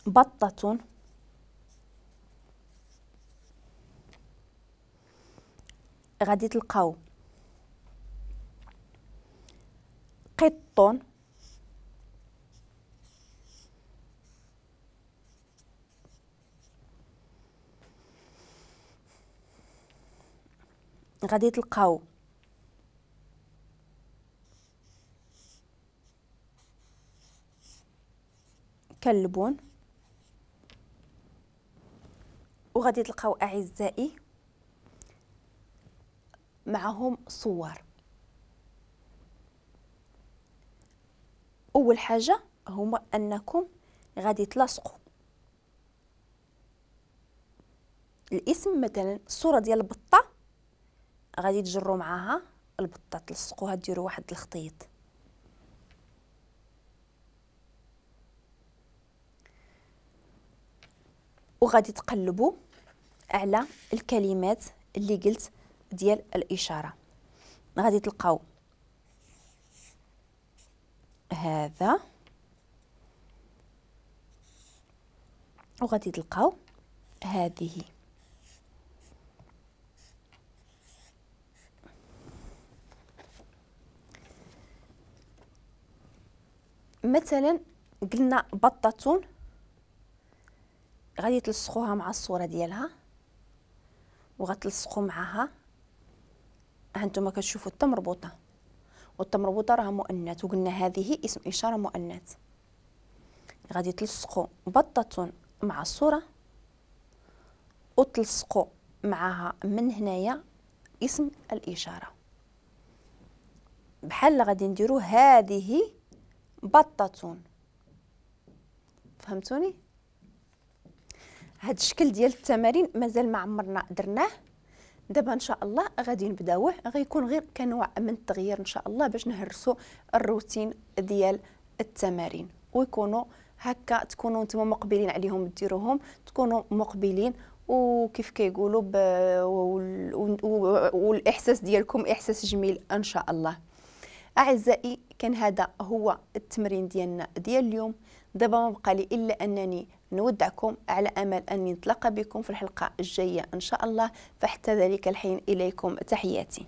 بطة، غادي تلقاو قط، غادي تلقاو كلب، وغادي تلقاو أعزائي معهم صور. أول حاجة هما أنكم غادي تلاصقوا الاسم، مثلا الصورة ديال البطة غادي تجروا معاها البطة، تلصقوها، ديروا واحد الخطيط. وغادي تقلبوا على الكلمات اللي قلت ديال الإشارة. غادي تلقاو هذا، وغادي تلقاو هذه. مثلا قلنا بطة، غادي تلصقوها مع الصورة ديالها وغتلصقوا معها. هانتوما كتشوفوا التا مربوطة، والتا مربوطة راه مؤنث، وقلنا هذه اسم إشارة مؤنث. غادي تلصقوا بطة مع الصورة وتلصقوا معها من هنايا اسم الإشارة، بحال غادي نديرو هذه بطة. فهمتوني؟ هاد الشكل ديال التمارين مازال ما عمرنا درناه، دابا ان شاء الله غادي نبداوه، غيكون غير كنوع من التغيير ان شاء الله باش نهرسوا الروتين ديال التمارين، ويكونوا هكا تكونوا نتوما مقبلين عليهم، ديروهم تكونوا مقبلين، وكيف كيقولوا والاحساس ديالكم احساس جميل ان شاء الله. اعزائي كان هذا هو التمرين ديالنا ديال اليوم. دابا ما بقى لي الا انني نودعكم على امل اني نتلاقى بكم في الحلقه الجايه ان شاء الله، فحتى ذلك الحين اليكم تحياتي.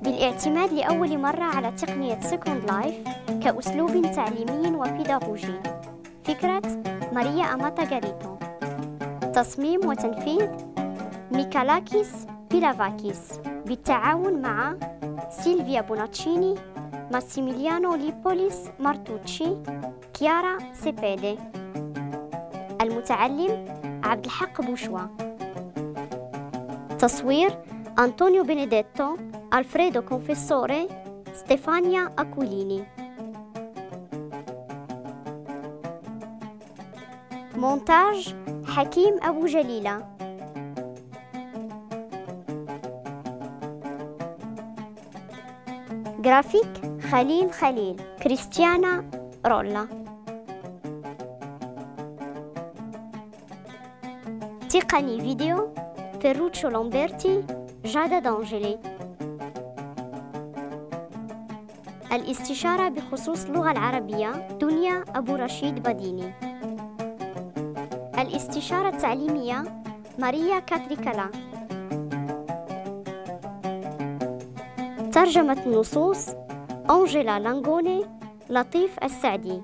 بالاعتماد لأول مرة على تقنية Second Life كأسلوب تعليمي وبيداغوجي. فكرة ماريا أماتا غاريتو. تصميم وتنفيذ ميكالاكيس بيلافاكيس بالتعاون مع سيلفيا بوناتشيني، ماسيميليانو ليبوليس مارتوتشي، كيارا سيبيدي. المتعلم عبد الحق بوشوا. تصوير أنطونيو بينيديتو، ألفريدو كونفيسوري، ستيفانيا أكوليني. مونتاج حكيم أبو جليلة. جرافيك خليل خليل، كريستيانا رولا. تقني فيديو فيروتشو لامبرتي، جادا دانجلي. الاستشارة بخصوص اللغة العربية دنيا أبو رشيد بديني. الاستشارة التعليمية ماريا كاتريكالا. ترجمة النصوص أنجيلا لانغوني، لطيف السعدي.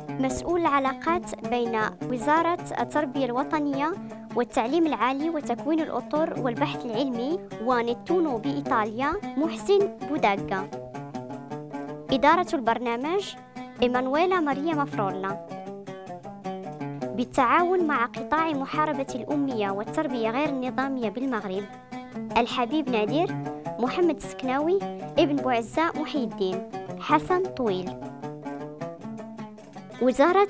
مسؤول العلاقات بين وزارة التربية الوطنية والتعليم العالي وتكوين الأطر والبحث العلمي ونتونو بإيطاليا محسن بوداغا. إدارة البرنامج إيمانويلا ماريا مافرولا. بالتعاون مع قطاع محاربة الأمية والتربية غير النظامية بالمغرب، الحبيب نادر، محمد السكناوي، ابن بوعزة محي الدين، حسن طويل. وزارة